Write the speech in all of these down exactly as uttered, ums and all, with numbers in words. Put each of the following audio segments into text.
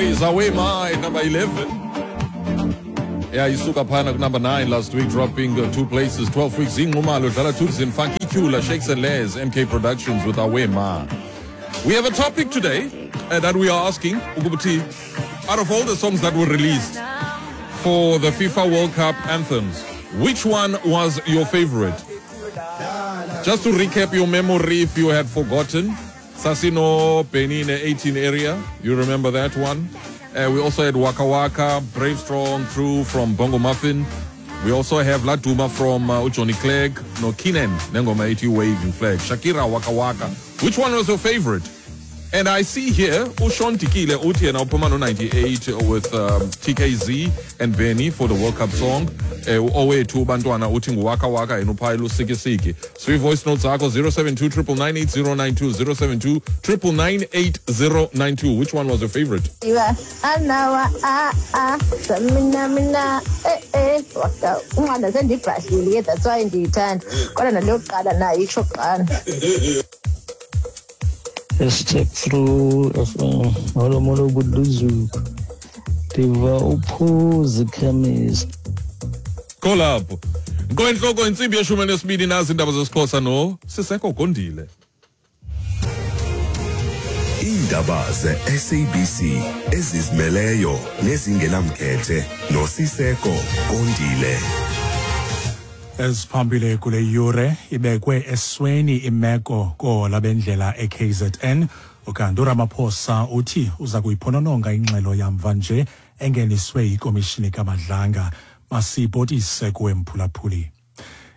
It is Awe Ma at number eleven. Yeah, isuka phana number nine last week, dropping uh, two places, twelve weeks. Zee Nxumalo, Dlala Thukzin, Funky Kula, Shakes and Les, M K Productions with Awe Ma. We have a topic today uh, that we are asking, ukuthi, out of all the songs that were released for the FIFA World Cup anthems, which one was your favorite? Just to recap your memory if you had forgotten, Sasino Benine eighteen area, you remember that one? Uh, we also had Waka Waka, Brave Strong, True from Bongo Muffin. We also have Laduma from uh, Johnny Clegg, no Kinen, nengoma ethi Waving Flag, Shakira Waka Waka. Which one was your favorite? And I see here uSean Tikile uthi yena uphuma no ninety-eight with um, T K Z and Benny for the World Cup song. Eh owethu bantwana uthi nguWaka Waka, yena uphayela uSikisiki. Three voice notes zakho, zero seven two nine nine nine eight zero nine two, zero seven two nine nine nine eight zero nine two. Which one was your favorite? Iwa anawa a a mina mina eh eh waka unqanda sendibhashile ke, that's why ndiyithanda, kodwa naleyokuqala nayo itsho kuqala. Hashtag True F M. Molo molo Buduzuku. Ndiva uphuzi chemist. Kolapho. Ngoenhloko intsimbi yeshumi nesibini, nazi indaba zesiXhosa no Siseko Gondile. Iindaba ze-S A B C ezizimeleyo nezingenamkhethe noSiseko Kondile. Eziphambili kule yure: ibekwe esweni imeko koohola bendlela e K Z N, ukanti uRamaphosa uthi uza kuyiphonononga ingxelo yamva nje engeniswe yikomishini kaMadlanga. Masibhotise kuwe, mphulaphuli.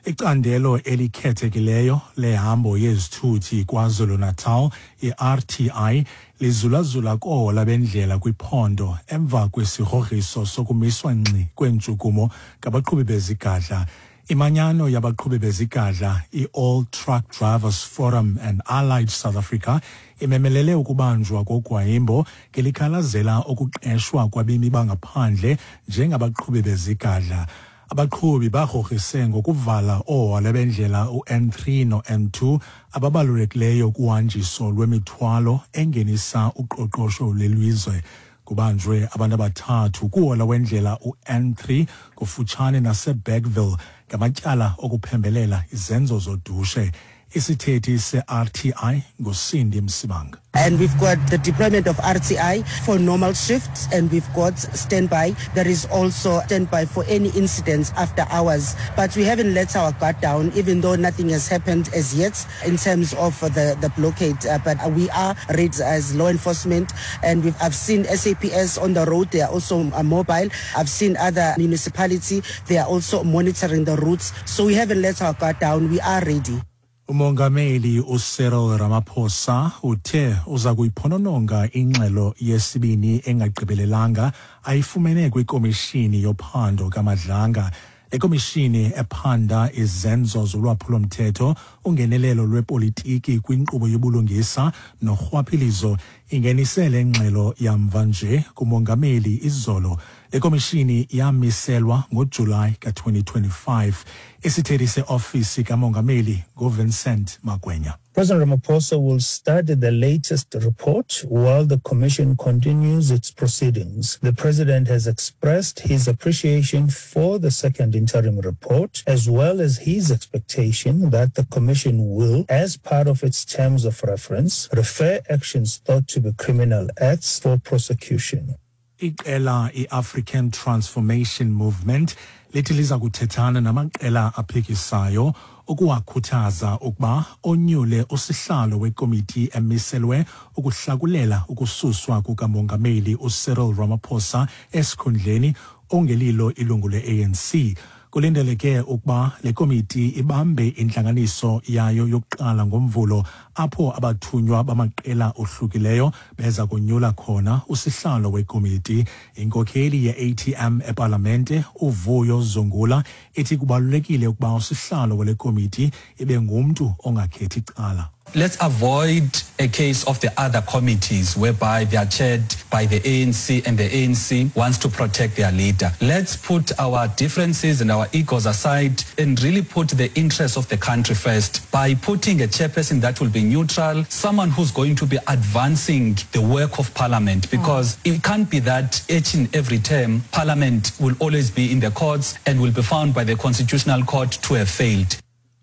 Icandelo elikhethekileyo lehambo yezithuthi KwaZulu-Natal, i-R T I, lizulazula koohola bendlela kwiphondo emva kwesigrogriso sokumiswa ngxi kweentshukumo ngabaqhubi bezigadla. Imanyano yabaqhubi bezigadla, i-All Truck Drivers Forum and Allied South Africa, imemelele ukubanjwa kogwayimbo ngelikhalazela ukuqeshwa kwabemi bangaphandle njengabaqhubi bezigadla. Abaqhubi bagrogrise ngokuvala oohola bendlela u-N three no-N two ababalulekileyo kuhanjiso lwemithwalo engenisa uqoqosho lelizwe. Kubanjwe abantu abathathu kuhola wendlela u-N three kufutshane naseBergville ngamatyala okuphembelela izenzo zodushe. Isithethi se-R T I nguCindy Msimanga. And we've got the deployment of R T I for normal shifts, and we've got standby. There is also standby for any incidents after hours. But we haven't let our guard down, even though nothing has happened as yet in terms of the, the blockade. Uh, but we are ready as law enforcement, and we've, I've seen S A P S on the road. They are also uh, mobile. I've seen other municipality. They are also monitoring the routes. So we haven't let our guard down. We are ready. Umongameli uCyril Ramaphosa uthe uza kuyiphonononga ingxelo yesibini engagqibelelanga ayifumene kwikomishini yophando kaMadlanga. Le komishini ephanda izenzo zolwaphulo-mthetho, ungenelelo lwepolitiki kwinkqubo yobulungisa norhwaphilizo ingenise le ngxelo yamva nje kumongameli izolo. Le komishini yamiselwa ngoJulayi ka-twenty twenty-five. Isithethi seofisi kamongameli nguVincent Magwenya. President Ramaphosa will study the latest report while the commission continues its proceedings. The president has expressed his appreciation for the second interim report, as well as his expectation that the commission will, as part of its terms of reference, refer actions thought to be criminal acts for prosecution. Iqela i-African Transformation Movement lithi liza kuthethana namaqela aphikisayo ukuwakhuthaza ukuba onyule usihlalo wekomiti emiselwe ukuhlakulela ukususwa kukamongameli uCyril Ramaphosa esikhundleni ongelilo ilungu le-A N C. Kulindeleke ukuba le komiti ibambe intlanganiso yayo yokuqala ngoMvulo, apho abathunywa bamaqela ohlukileyo beza kunyula khona usihlalo wekomiti. Inkokheli ye-A T M epalamente uVuyo Zungula ithi kubalulekile ukuba usihlalo wale komiti ibe ngumntu ongakhethi cala. Let's avoid a case of the other committees whereby they are chaired by the A N C and the A N C wants to protect their leader. Let's put our differences and our egos aside and really put the interests of the country first by putting a chairperson that will be neutral, someone who's going to be advancing the work of Parliament, because mm. it can't be that each and every term Parliament will always be in the courts and will be found by the Constitutional Court to have failed.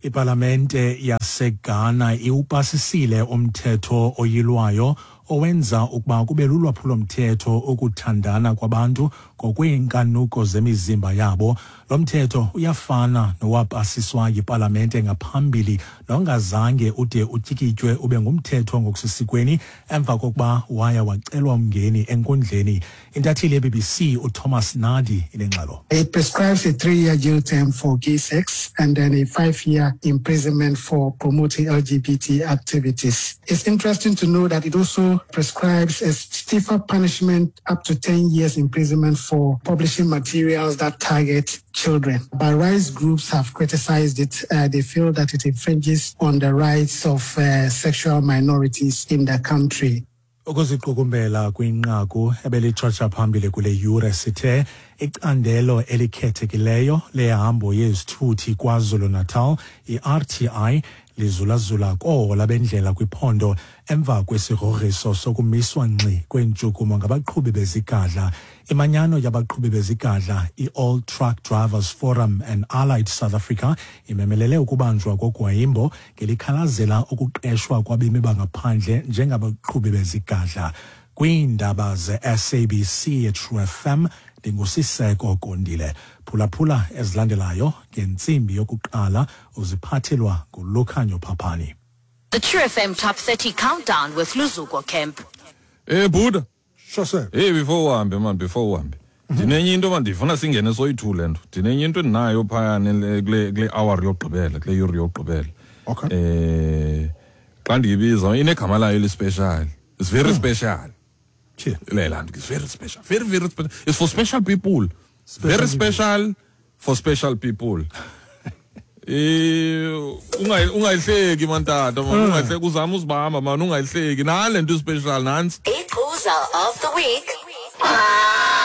Ipalamente yaseGhana iwupasisile umthetho oyilwayo owenza ukuba kube lulwaphulomthetho ukuthandana kwabantu ngokweenkanuko zemizimba yabo. Lo mthetho uyafana nowapasiswa yipalamente ngaphambili nongazange ude utyikitywe ube ngumthetho ngokusesikweni emva kokuba waya wacelwa umngeni enkundleni. Intatheli ye-B B C uThomas Nadi inengxelo. It prescribes a three-year jail term for gay sex and then a five-year imprisonment for promoting L G B T activities. It's interesting to know that it also prescribes a stiffer punishment up to ten years imprisonment for publishing materials that target children. But rights groups have criticized it. Uh, they feel that it infringes on the rights of uh, sexual minorities in the country. Ukuziqukumbela kwinqaku ebelitshotsha phambili kule yure sithe icandelo elikhethekileyo lehambo yezithuthi KwaZulu-Natal i-R T I lizulazula koohola bendlela kwiphondo emva kwesigrogriso sokumiswa ngxi kweentshukumo ngabaqhubi bezigadla. Imanyano yabaqhubi bezigadla i-All Truck Drivers Forum and Allied South Africa imemelele ukubanjwa kogwayimbo ngelikhalazela ukuqeshwa kwabemi bangaphandle njengabaqhubi bezigadla. Kwiindaba ze-S A B C True F M ndinguSiseko Kondile. Phulaphula ezilandelayo ngentsimbi yokuqala uziphathelwa nguLukhanyo Phaphani. The True F M Top thirty Countdown with Luzuko Kemp. Hey Buddha. Sure sir. Hey before uhambe man before uhambe. Ndinenye into man ndifuna singene soyi-two le nto. Ndinenye into endinayo phaya kule kule hour yokugqibela, kule yure yokugqibela. Okay. Eh xa ndiyibiza inegama layo elispecial. It's very mm. special. Le nto is very special. Very very special. It's for special people. Special very special people. For special people. Eh ungayihleki man tata man ungayihleki uzama uzibamba man ungayihleki nale nto special nansi. Iqhuza of the week.